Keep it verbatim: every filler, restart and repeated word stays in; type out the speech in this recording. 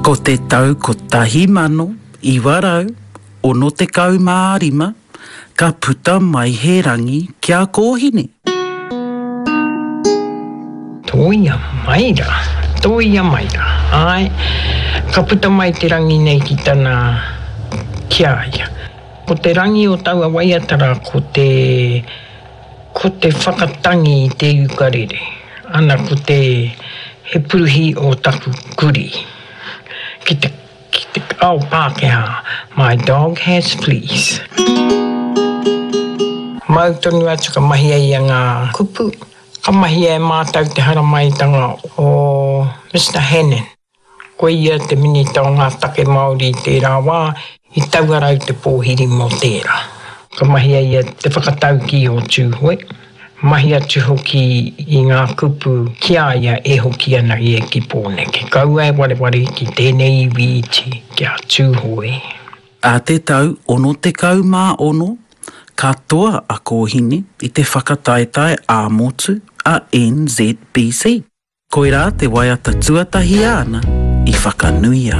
Ko te tau kotahi mano, iwa rau, ono tekau mā rima, ka puta mai he rangi ki a Kōhine. Tōia mai rā, tōia mai rā, āe, ka puta mai te rangi nei ki tana, ki a ia. Ko te rangi o taua waiata rā ko te, ko te whakatangi i te ukarere, ana ko te, he puruhi o taku kurī, ki te, ki te ao Pākehā, my dog has fleas. Mau tonu atu ka mahia ia ngā kupu, ka mahia e mātou te haramaitanga o Mister Hannon. Ko ia te minita o ngā take Māori i tērā wā, i tauarau te pōhiri mō tērā. Ka mahia ia te whakataukī o Tūhoe, mahi atu hoki i ngā kupu ki a ia e hoki ana ia ki Pōneke. Kaua e wareware ki tēnei iwi iti ki a Tūhoe. Ā te tau ono tekau mā ono, ka toa a Kōhine i te whakataetae ā-motu a N Z B C. Koirā te waiata tuatahi āna i whakanuia.